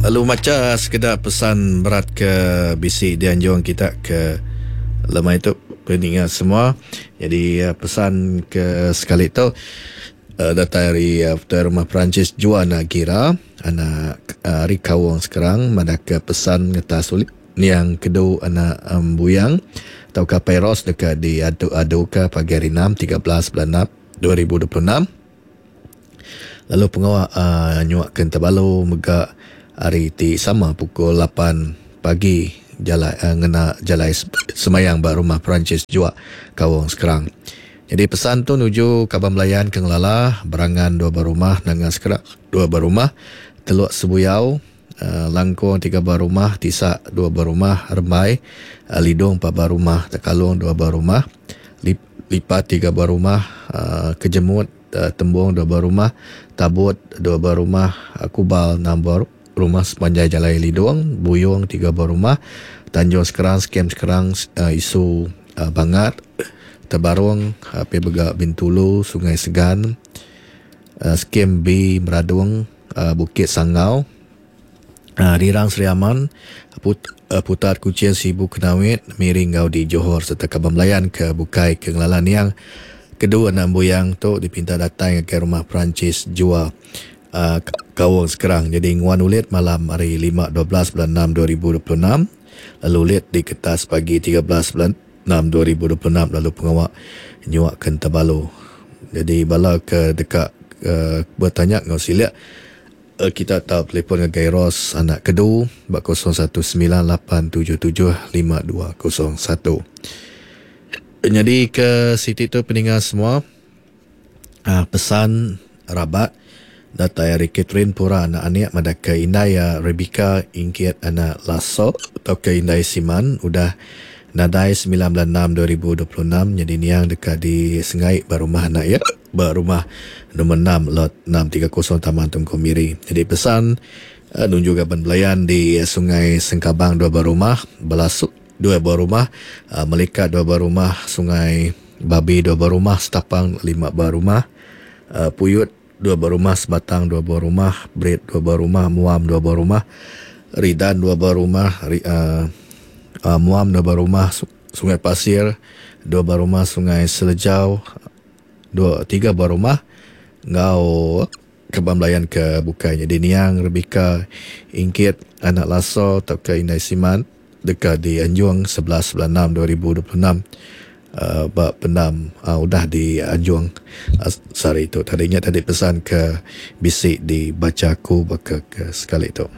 Lalu macha sekeda pesan berat ke bisi dianjung kita ke lemai tu peninga semua. Jadi pesan ke sekali tu datai ari Tuai Rumah Perancis Juan Gira anak ari Kaung Sekerang madahka pesan ngetas ulih niang kedu anak Embuyang tauka Apai Ros deka diadu-aduka pagi hari Enam 13 bulan Enam 2026. Lalu pengawa nyuaka Entabalu mega hari ti sama pukul 8 pagi jalai ngena jalai semayang ba Rumah Perancis Juak Kaung Sekerang. Nyadi pesan tu nuju kaban belayan ke ngelala berangan dua buah rumah Nanga Sekerang dua buah rumah Teluk Sebuyau Langkung tiga buah rumah Tisak dua buah rumah Rembai Lidong empat buah rumah Tekalong dua buah rumah Lipat tiga buah rumah Kejemut Tembung dua buah rumah Tabut dua buah rumah Kubal enam buah rumah sepanjai Jalai Lidong Buyong tiga buah rumah Tanjung Sekerang Skem Sekerang Isu Bangat Tebarong pia mega Bintulu Sungai Segan Skem B Meradong Bukit Sangau Rirang Sri Aman, Putar Kuching Sibu Kenawit, Miri enggau di Johor sereta kaban belayan ke bukai ke ngelala niang kedua anak embuyang tu dipinta datai ngagai Rumah Perancis Jua Kaung Sekerang nyadi nguan ulit malam hari lima 12 bulan enam 2026 lalu ulit diketas pagi 13 bulan enam 2026 lalu pengawa nyuaka Entabalu. Jadi bala ke deka betanya enggau silik Kita tau telefon ngagai Ros anak Kedu ba 0198775201. Nyadi ke siti tu peninga semua pesan rabat datai ari Catherine Pura anak Anik madahka indai iya Rebecca Ingkit anak Laso tauka indai Siman udah nadai 9 bulan 6 2026 nyadi niang deka disengai ba rumah anak iya. Ba rumah nombor 6 lot 630 Taman Tunku Miri. Jadi pesan nunju gaban belayan di Sungai Sengkabang dua buah rumah, Belasuk dua buah rumah, Melikat dua buah rumah, Sungai Babi dua buah rumah, Setapang lima buah rumah, Puyut dua buah rumah, Sebatang dua buah rumah, Berit dua buah rumah, Muam dua buah rumah, Ridan dua buah rumah, Muam dua buah rumah, Sungai Pasir dua buah rumah, Sungai Selejau dua tiga buah rumah enggau kaban belayan ke bukai nyadi niang Rebecca Ingkit anak Laso tauka Indai Siman deka dianjung 11 bulan 6 2026 uh, ba pendam uh, udah dianjung uh, sehari tu tadi nya tadi pesan ke bisi dibacha aku baka ke sekali tu.